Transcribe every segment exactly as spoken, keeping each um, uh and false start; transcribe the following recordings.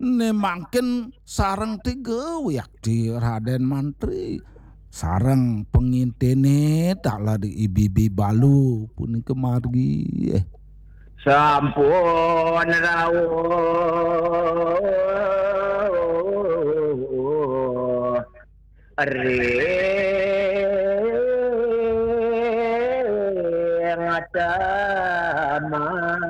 Né mangkin sareng tiga wiakti Radén Mantri. Sareng pangintene taler Ibi-ibi Balu punika margi. Eh. Sampun rawuh ring taman.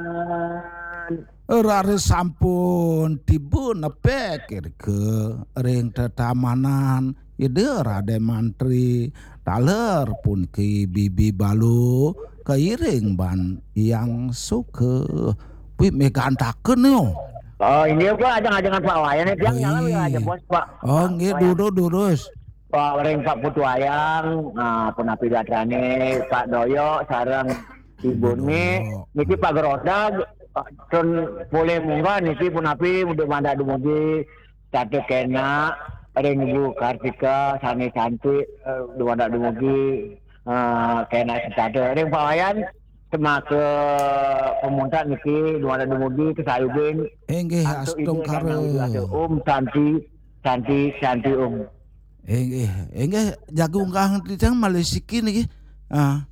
Raris sampun tiba nepek irika ring tetamanan Ida Radén Mantri, taler puniki Bibi Balu kairing ban Hyang Suka. Pi megantaken yo. Oh, ini apa ajeng-ajengan Pak Wayan ya, tiang nyala. Ih. Aja bos, Pak. Oh, nggih, durus, durus. Pak, ring Pak Putu Wayang, nah, punapi gatrané Pak Doyok sareng Ibu Ni, Doyok. Niki Pak Gerodag, pun polih munggah niki punapi dumadak dumugi setata kénak ring Ibu Kartika sané cantik, eh, dumadak dumugi, eh, kénak setata ring Pak Wayan semaka pamuntat niki dumadak dumugi kasayubin. Inggih, antuk Ida Sang Hyang Widi Wasa. Om Santi, Santi, Santi Om. Inggih, inggih, jagi unggah titiang malih siki niki. Ah.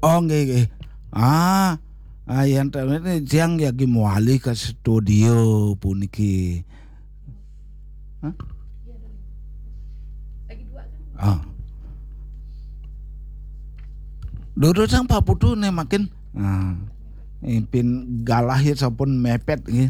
Oh, nggih, nggih. Ah, ah, yan ta-, niki titiang jagi mawali ka studio puniki. Hah? Ah. Durusang Pak Putu né mangkin. Ah. Ipin galah ya sampun mepet nggih.